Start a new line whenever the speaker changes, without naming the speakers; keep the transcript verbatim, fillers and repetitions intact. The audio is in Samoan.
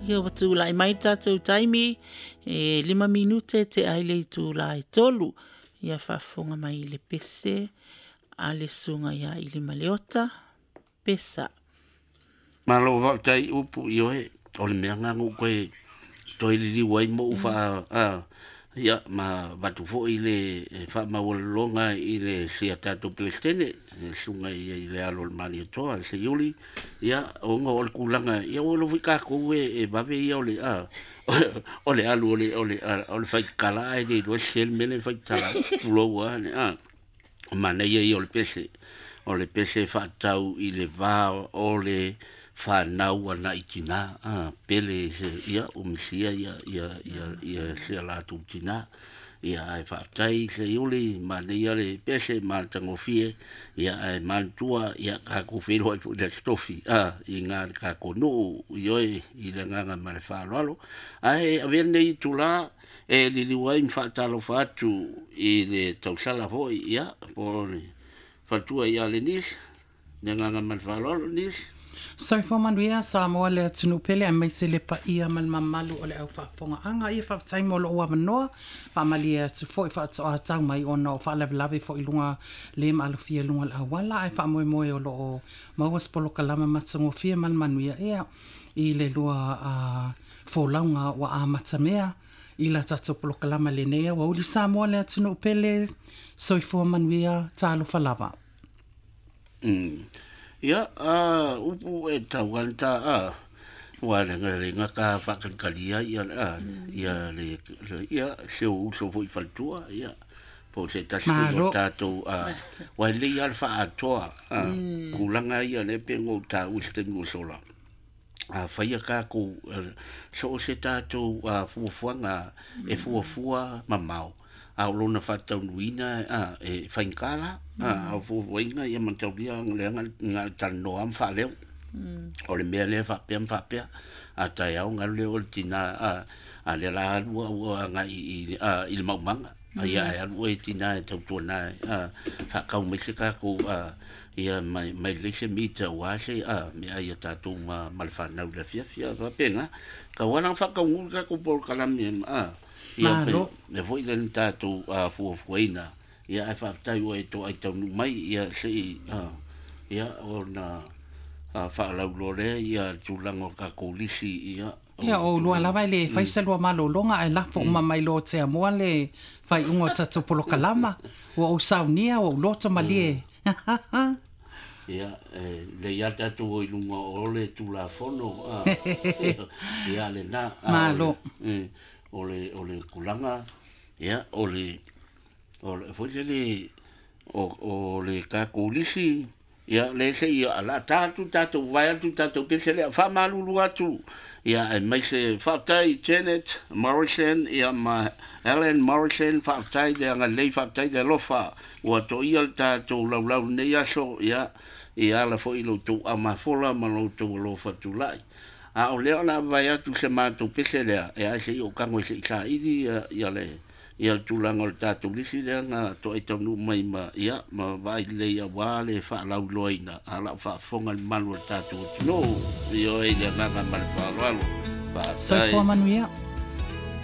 Ia ua tulai mai le tatou taimi e lima minute te ai le itula e tolu. Ia faafofoga mai i le pese a le susuga ia Ilimaleota Pesa.
Malo faafetai upu i oe o le mea lena na ou toe toe liliu ai ma ou faa a ia ma avatu foi le faamaualaloga i le sia tatou Peresetene le susuga i le alo o le Malietoa le Seiuli ia ona o le tulaga ia ua iloa foi tatou e vave ia o le a o le alu o le o le o le faitala ae le iloa se le mea lea e faitala ai tulou lava le a manaia ia o le pese o le pese faatatau i le va o le fanau agai tina a pele se ia ua misia ia ia ia ia se latou tina ia ae faafetai Seiuli manaia le pese ma le tagofie ia ae manatua ia tatou feiloai foi i le Aso Tofi a i na le tatou nuu ioe i le agaga ma le faaaloalo ae avea lenei itula e liliu ai ma faatalofa atu i le tausala foi ia po o le faletua ia Lenis le agaga ma le faaaloalo Lenis.
Soifua manuia Samoa le atunuu pele aemaise le paia ma le mamalu o le au faafofogaaga. Ia faafetai mo lou avanoa, faamalie atu foi faatoa tau mai ona o faalavelave foi i luga le maalofia i luga o le auala ae faamoemoe o loo maua se polokalama matagofie ma le manuia ea i le lua uh, folauga ua amatamea i la tatou polokalama lenei aoauli. Samoa le atunuu pele, soifua manuia, talofa lava.
Mm. Ia, a upu e tau ana ta a ua le le gata faakalikalia ia a ia le ia se uso foi faletua ia po o se tasi foi o
Malo.
tatou a ua lelei lava le faaatoa a tulaga ia lea pe ona ou taua i se taimi ua sola a faia tatou so o se tatou fuafuaga e fuafua mamao a o lona faataunuuina a e faigata la a o fuafuaina ia mataulia leaga na o le talanoa ma faaleo o le mea lea faapea ma faapea a taeao ona alu lea o le tina a a lea la alu ua agai i i le maumaga ia ae alu oe tina e tautuana a faatau mai se tatou a ia mai mai lelei se mita aua se a mea ia tatou ma ma le fanau i le afiafi a faapena tau lava ona faataunuu le tatou polokalame a ia pe
Malo.
le foi lea na tatou fuafuaina ia ae faafetai ua e toai taunuu mai ia sei a ia ona faalauiloa lea ia le tulaga o tatou lisi ia
Ia o lua lava e le fai se lua malologa ae lafo uma mai loa Tiamoa le faaiuga o tatou polokalama. Ua ou saunia, ua ou loto malie.
Ia, e lelei lava tatou o i luga o le Tulafono a ia lena a o le
Malo.
o le o le tulaga ia o le o le foi lele o o le tatou lisi ia le se ia la ta atu tatou vae atu tatou pese lea faamalulu atu ia aemaise faafetai Janet Morrison ia ma Ellen Morrison faafetai le agalelei faafetai le alofa ua toia le tatou laulau lenei aso ia ia ala foi i lo outou aumafola ma lo outou alofa tulai a o lea o le a vae atu se matou pese lea e ae se i ou tago se i saili ia, ia le ia le tulaga o le tatou lisi lea na toai taunuu mai ma ia ma vaai lelei aua le faalauiloaina a lau faafofoga le mamalu o le tatou atunuu ioe i le agaga ma le faaaloalo faafetai.
Soifua manuia.